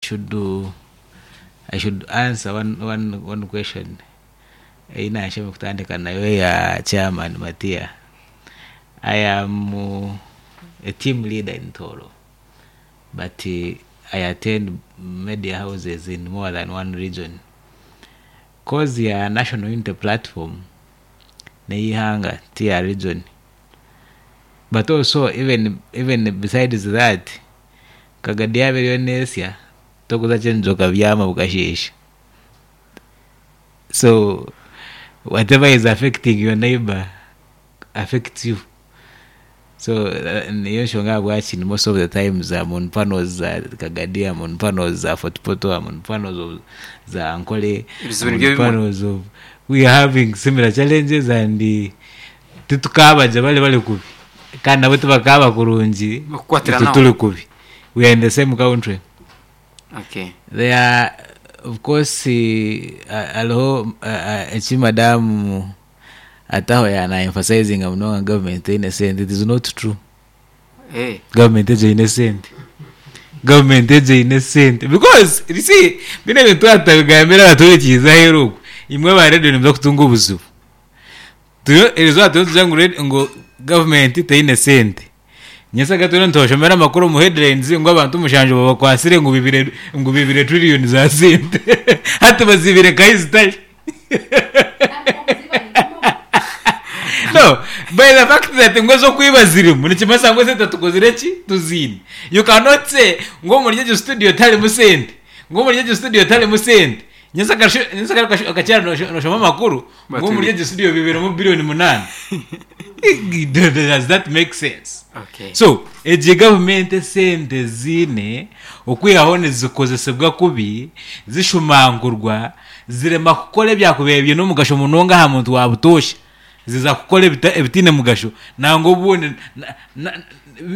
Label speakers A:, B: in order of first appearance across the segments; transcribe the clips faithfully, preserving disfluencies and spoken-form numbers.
A: should do, I should answer one, one, one question ei naashema kutandika nayo ya chairman Matia. I am uh, a team leader in Toro, but uh, I attend media houses in more than one region. Cause ya National Unity Platform neihanga tiya region, but also even even besides that, Kagadi yaberiyo nesya tokuza kyenjoka byama bukashesha. So whatever is affecting your neighbor affects you. So uh, niyo nshonga bwaki most of the times I'm on panels za Kagadi, I'm on panels za Fort Portal, I'm on panels of za Ankole,
B: Ebizibu
A: I'm on
B: nibyo bimwe.
A: panels of we are having similar challenges and uh, titukabaja bali bali kubi kandi nabo tibakaba kurungi
B: Bakukwatira
A: itwe
B: naho.
A: tuli kubi. We are in the same country.
B: Okay.
A: There are, of course, uh, hariho uh, uh, eki madamu ataho yana emphasizing munonga government eine sente. It is not true.
B: Eh.
A: Government egyo eine sente, government egyo eine sente, because you see bino ebintu atabigambira abaturikiza aheeru okwo, imwe aba radio nimuza kutunga obuzibu. Turiyo erizooba turiyo nitugira ngu radio- ngu government teine sente, nyensaga turiyo nitushomera amakuru omu headlines ngu abantu mushanju babakwasire ngu bibire ngu bibire trillion za sente, hati bazibire kahi zitari. No, by the fact that ngo ez'okwiba zirimu nikimanyisa ngu esente tukozire ki tuziine. You cannot say ngu omuri egyo studio tarimu sente, ngu omuri egyo studio tarimu sente, nyensaga akakyara noshoma amakuru ngu omuri egyo studio bibiremu biliyoni munaana. Does that make sense?
B: Okay.
A: So egi gavumenti esente ziine okwihaho nizikozesebwa kubi, zishumangurwa, zirema kukora ebyakubaire biine omugasho munonga aha muntu wa butoosha, ziza kukora ebita- ebitiine mugasho, nangwa obundi na- na-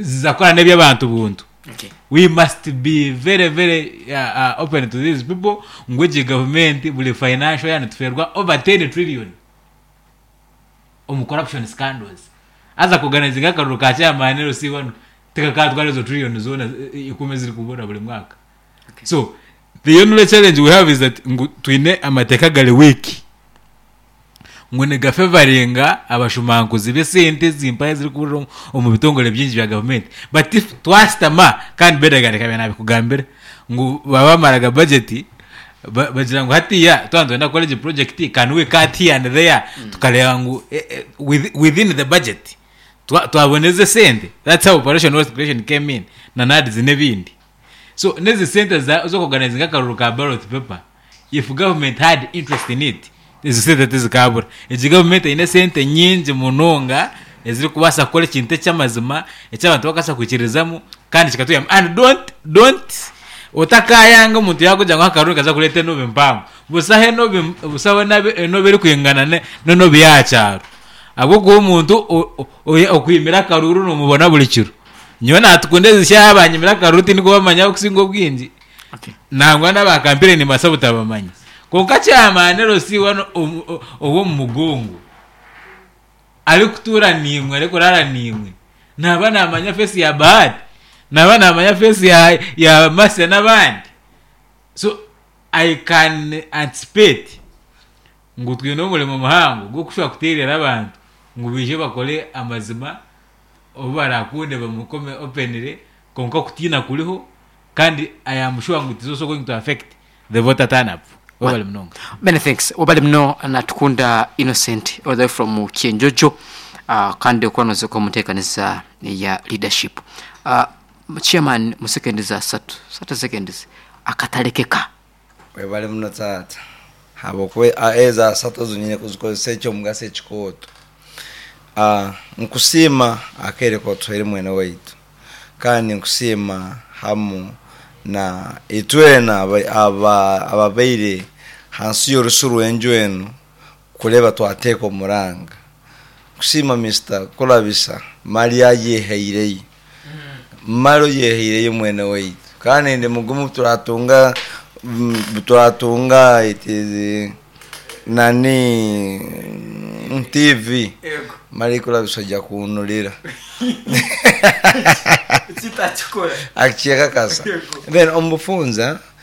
A: ziza kukora n'eby'abantu buntu.
B: Okay.
A: We must be very very uh, uh, open to these people ngu egi gavumenti buri financial year nituferwa over ten trillion omu corruption scandals. Haza kuganizinga akaruru ka chairman L C wano tikakatwara ezo trillion zoona eh, ikumi ezirikubura buri mwaka.
B: Okay.
A: So the only challenge we have is that ngu twine amateeka gari weak ngu nigafevaringa abashumankuzi b'esente zimpaye ezirikuburira omu- omu bitongore bingi bya gavumenti. But if twasitama kandi bedaga reka nabikugambira ngu baba bamaraga budget ba- bagira ngu hatiya twaba nitwenda kukora egi project, can we cut here and there, tukareba ngu eh, eh, with- within the budget twa- twaboneza esente. That's how Operation Wealth Creation came in na NAADS n'ebindi. So nezi sente za- z'okuorganizinga akaruru ka ballot paper, if government had interest in it, ezo sente tizikabura. Egi government eine sente nyingi munonga ezirikubaasa kukora ekintu eky'amazima eky'abantu bakabaasa kwikirizamu kandi kikatuyamba. And don't don't otakayanga omuntu yakugira ngu akaruru kaza kureeta enobi mpango, busaho enobi, busaho enabi- enobi erikwingana ne- n'enobi y'aha kyaro, ahabw'okuba omuntu o- o- oya- okwimira akaruru nomubona buri kiro. Nyowe natukunda ezi shaaha banyimira akaruru tindikubamanya okusinga obwingi.
B: Okay.
A: Nangwa n'abakampire nimbaasa butabamanya, konka chairman L C wano omu- o- ow'omu mugongo arikutuura niimwe, arikurara niimwe, naba namanya face ya Bahati, naba namanya face ya, ya Mase n'abandi. So I can anticipate ngu twine omurimo muhango gw'okushobora kuteerera abantu ngu baije bakore amazima obu barakunde bamukome openly, konka okutiina kuriho kandi I am sure ngu it is also going to affect the voter turn up. Webale munonga.
B: Many thanks. Wabale muno Natukunda Innocent all the way from Kyenjojo, uh, kandi okwanoze ko muteekaniza ya leadership. Uh, chairman, mu seconds asatu, thirty seconds, akatalekeka.
C: Webale muno taata, habwokuba ezo asatu zonyine kuzikozesa ekyomugaso ekikooto. Ah, nkusiima akaire kotuhaire mwene waitu, kandi nkusiima hamu na itwena aba- aba- ababaire hansi y'orusu rw'enju enu kureba twateeka omuranga. Nkusiima Mister Kurabisa mali ayehaireyo, mali oyehaireyo mwene waitu, kandi ndi mugumu turatunga mm, turatunga it is nani mm, T V mali Kurabisa ojja kunulira akikyekakasa. Then omubufunza